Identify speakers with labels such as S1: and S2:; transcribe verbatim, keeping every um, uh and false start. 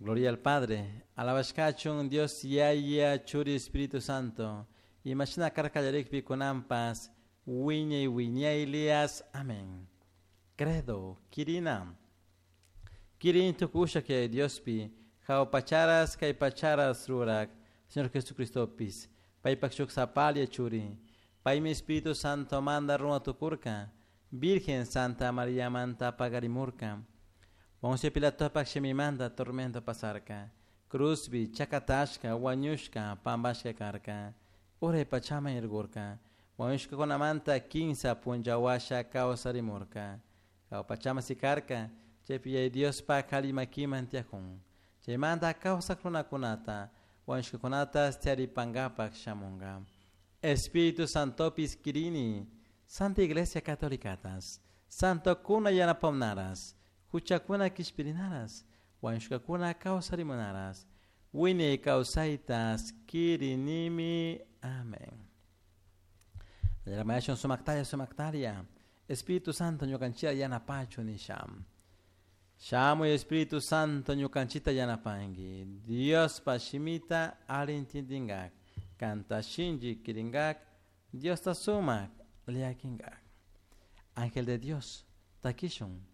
S1: Gloria al Padre, alabashkachun Dios Yaya Churi Espíritu Santo, imashina karka kallarikpi kunanpas, wiñay wiñaylias. Amén. Credo, Kirina. Kirin tukusha que Diospi, jahua pacharas kay pacharas rurak, Señor Jesucristopis, paypak shuk sapalla churi, paymi Espíritu Santo manda runa tukurka, Virgen Santa María manta pagarimurka, Poncio Pilatopak shimimanta tormento pasarka, cruzbi chakatashka, wañushka, pambashka karka, uray pachaman irgurka, wañushkakunamanta kinsa punlla washa kawsarimurka, jahua pachaman sikarka, chaypi Yaya Diospak alli makiman tiyakun, chaymanta kawsak runakunata, wañushkakunata tiyaripankapak shamunka. Espíritu Santopis kirini, Santa Iglesia Católicatas, Santokuna yanapawnaras, huchakuna kishpirinaras, wañushkakuna kawsarimunaras, wiñay kawsaytas kirinimi. Amén. Llamayashun sumaktalla sumaktalla, Espíritu Santo ñukanchita yanapachu nisham. Shamuy Espíritu Santo ñukanchita yanapanki. Diospa shimita alli intindingak. Kanta shinchi kiringak. Diosta sumak llakinkak. Ángel de Dios, takishun.